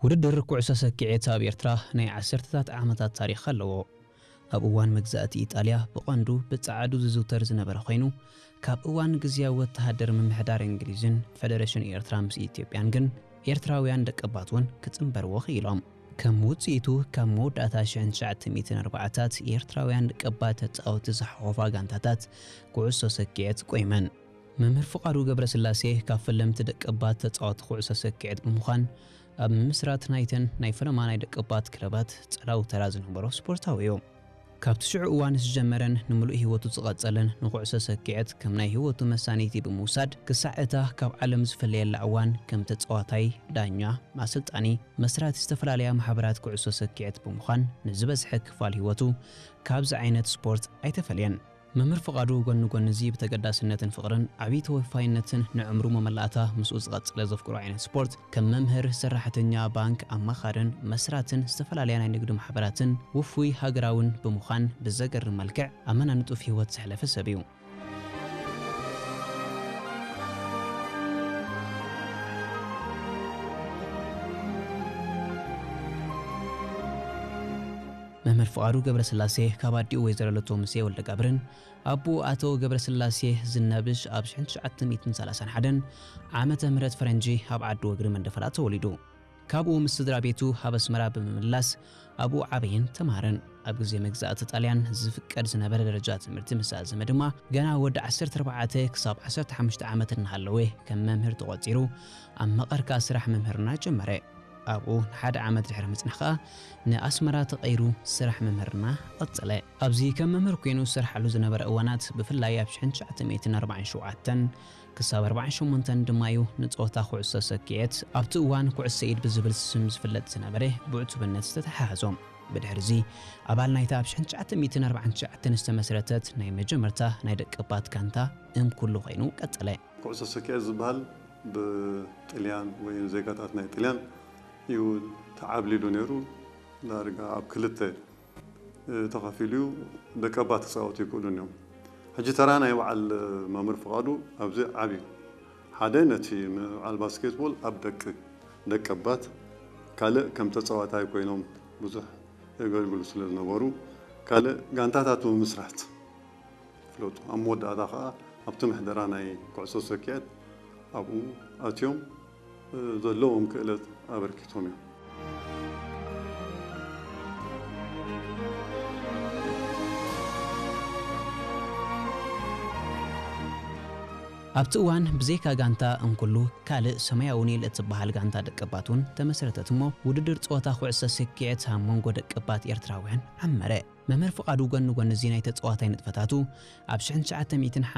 ውድድር ኩዕሶ ሰኪዔት ኣብ ኤርትራ ናይ ዓሰርተታት ዓመታት ታሪኽ ኣለዎ። ኣብ እዋን መግዛእቲ ኢጣልያ ብቐንዱ ብጸዓዱ ዝዝውተር ዝነበረ ኮይኑ፣ ካብ እዋን ግዝያዊ ወተሃደር ምምሕዳር እንግሊዝን ፈደረሽን ኤርትራ ምስ ኢትዮጵያን ግን ኤርትራውያን ደቀባት እውን ክጽንበርዎ ክኢሎም። ከም ውጽኢቱ፣ ካብ መወዳእታ ሽሕን ትሽዓተ ሚእትን ኣርባዓታት ኤርትራውያን ደቀባት ተጻወቲ ዝሓቖፋ ጋንታታት ኩዕሶ ሰኪዔት ቆይመን። መምህር ፍቓዱ ገብረስላሴ ካብ ፈለምቲ ደቀባት ተጻወቲ ኩዕሶ ሰኪዔት ብምዃን፣ ኣብ ምምስራት ናይተን ናይ ፈለማ ናይ ደቀባት ክለባት ጸላዊ ተራ ዝነበሮ ስፖርታዊ እዩ። ካብቲ ሽዑ እዋን ዝጀመረን ንምሉእ ህይወቱ ዝቐጸለን ንኩዕሶ ሰኪዔት ከም ናይ ህይወቱ መሳነይቲ ብምውሳድ፣ ክሳዕ እታ ካብ ዓለም ዝፍለየላ እዋን ከም ተጻዋታይ፣ ዳኛ፣ ኣሰልጣኒ፣ መስራቲ ዝተፈላለያ ማሕበራት ኩዕሶ ሰኪዔት ብምዃን ንዝበዝሐ ክፋል ህይወቱ ካብዚ ዓይነት ስፖርት ኣይተፈልየን። መምህር ፍቓዱ ጎኒ ጎኒ እዚ ብተገዳስነትን ፍቕርን ዓብዪ ተወፋይነትን ንዕምሩ መመላእታ ምስኡ ዝቐጸለ ዘፍቅሮ ዓይነት ስፖርት ከም መምህር፣ ሰራሕተኛ ባንክ፣ ኣማኻርን መስራትን ዝተፈላለያ ናይ ንግዲ ማሕበራትን ውፉይ ሃገራውን ብምዃን ብዘገርም መልክዕ ኣመና ንጡፍ ህይወት ዘሕለፈ ሰብ እዩ። መምህር ፍቓዱ ገብረስላሴ ካብ ኣዲኡ ወይዘሮ ለቶ ሙሴ ወልደጋብርን ኣቦኡ ኣቶ ገብረስላሴ ዝናብሽ ኣብ ሽሕን ትሽዓተ ሚእትን ሰላሳን ሓደን ዓመተ ምህረት ፈረንጂ ኣብ ዓዲ ወግሪ መንደፈራ ተወሊዱ። ካብኡ ምስ ስድራ ቤቱ ኣብ ኣስመራ ብምምላስ ኣብኡ ዓበየን ተማሃረን። ኣብ ግዜ መግዛእቲ ጣልያን ዝፍቀድ ዝነበረ ደረጃ ትምህርቲ ምስ ኣዘመ ድማ ገና ወዲ ዓሰርተ ኣርባዕተ ክሳብ ዓሰርተ ሓሙሽተ ዓመት እናሃለወ ከም መምህር ተቖጺሩ ኣብ መቐርካ ስራሕ ምምህርና ጀመረ። ኣብኡ ንሓደ ዓመት ድሕሪ ምጽናሕ ከኣ ንኣስመራ ተቐይሩ ስራሕ ምምህርና ቀጸለ። ኣብዚ ከም መምህር ኮይኑ ዝሰርሓሉ ዝነበረ እዋናት፣ ብፍላይ ኣብ ሽሕን ትሽዓተ ሚእትን ኣርባዓን ሸውዓተን ክሳብ ኣርባዓን ሸሞንተን ድማ እዩ ንጸወታ ኩዕሶ ሰኪዔት፣ ኣብቲ እዋን ኩዕሶ ኢድ ብዝብል ስም ዝፍለጥ ዝነበረ፣ ብዕቱብነት ዝተተሓሓዞ። ብድሕርዚ ኣባል ናይታ ኣብ ሽሕን ትሽዓተ ሚእትን ኣርባዓን ትሽዓተን ዝተመስረተት ናይ መጀመርታ ናይ ደቀባት ጋንታ እምኩሉ ኮይኑ ቀጸለ። ኩዕሶ ሰኪዔት ዝበሃል ብጥልያን ወይ ዜጋታት ናይ ጥልያን እዩ ተዓብሊሉ ነይሩ። ዳርጋ ኣብ ክልተ፣ እ፣ ተኸፊሉ እዩ። ደቀባት ክጻወቱ ይክእሉን እዮም። ሕጂ ተራ ናይ በዓል መምህር ፍቓዱ ኣብዚ ዓቢ እዩ። ሓደ ነቲ በዓል ባስኬትቦል ኣብ ደቂ፣ ደቀባት፣ ካልእ ከም ተጻዋታይ ኮይኖም ብዙሕ የገልግሉ ስለ ዝነበሩ፣ ካልእ ጋንታታት ብምስራት ፍለጡ። ኣብ መወዳእታ ከኣ ኣብቲ ምሕደራ ናይ ኩዕሶ ሰኪዔት ኣብኡ ኣትዮም፣ እ፣ ዘለዎም ክእለት ኣበርኪቶም እዮም። ኣብቲ እዋን ብዘይካ ጋንታ እንኩሉ ካልእ ሰማያዊ ኒል እትበሃል ጋንታ ደቀባት እውን ተመስረተት እሞ፣ ውድድር ጸወታ ኩዕሶ ሰኪዔት ኣብ መንጎ ደቀባት ኤርትራውያን ዓመረ። መምህር ፍቓዱ ጎኒ ጎኒ እዚ ናይ ተጻዋታይ ንጥፈታቱ ኣብ ሽሕን ትሽዓተ ሚእትን